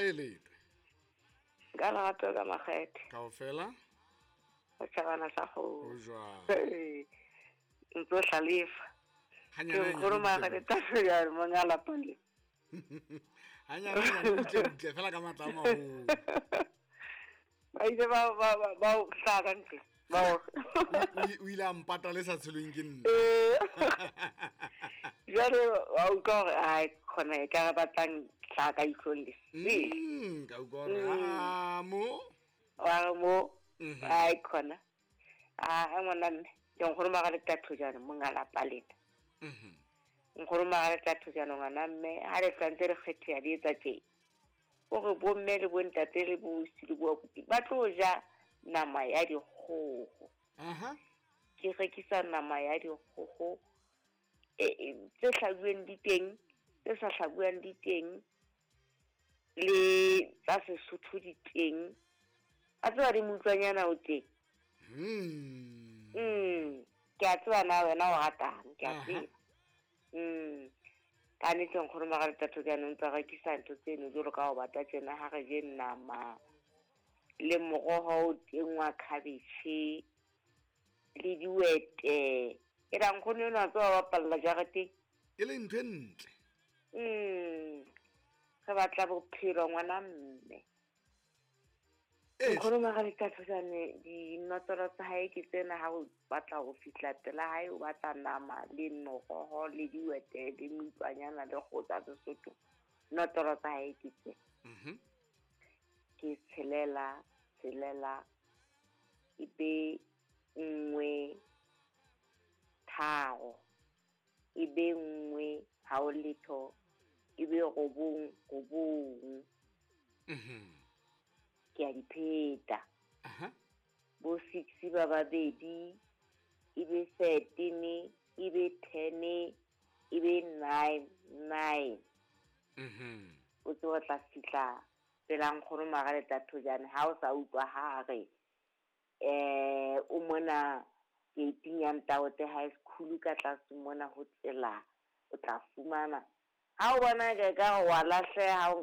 Kae leta? Ka lerato ka makgethe. Kaofela? O tjhabana sa Ho kgomo. jwang? Ee, ntse o hlalefa. Ke Hanyane nkgono hanyane maga butle le tatso ya monga lapa le. butle. Hanyane hanyane butle butle fela ka matla a maholo. Ba ile ba o hlaha ka ntle. Ba o. O ile a mpata le sa tshelweng ke nna. Ee. Jwale wa utlwa hore ai khona e ka re batlang hlaha ka ihlong le. Se. Ka utlwa hore ah mo. Wa re mo Mhm. ai khona. A ngwana mme ke nkgono maga le tatso jana monga lapa lena. Mhm. Nkgono maga le tatso jana ngwana mme ha le tlantse re kgethe ya di etsa tje. O re bomme le bontate le bosi le boabuti ba tlo ja nama ya dikgoho. Aha. Ke rekisa nama ya dikgoho tse hlabuweng di teng, tse sa hlabuwang di teng, le tsa Sesotho di teng. A tseba di moutlwanyana o teng. Ke a tseba na wena o ratang, ke a Aha. tseba. Ka nnete nkgono maga le tatso jaanong tsa rekisa ntho tseno jwalo ka ho bata tjena ha re je nama le moroho o teng wa cabbage le diwete. E ra nkgono enwa a tseba bapalla jareteng. E le ntho e ntle. Re batla bophelo ngwana mme. Eh. Nkgono maga le tatso jane dinotlolo tsa hae ke tsena ha o batla ho fihla pela hae o batla nama le moroho le diwete le meutlwanyana le kgoho tsa Sesotho. Notlolo tsa hae ke tsena. Mhm. Ke tshelela, tshelela, ebe nngwe, tharo, ebe nngwe, ha o letho, ebe robong, robong. Mhm. Ke a di pheta. Aha. Bo 6 ba babedi, ebe 13, ebe 10, ebe 9, 9. Mhm. O tsebe o tla fihla pela nkgono maga le tatso jane ha o sa utlwa ha re o mona gate ya Ntaote High School ka tlase mona ho tsela o tla fumana. Ha o bona ke ka wa lahleha o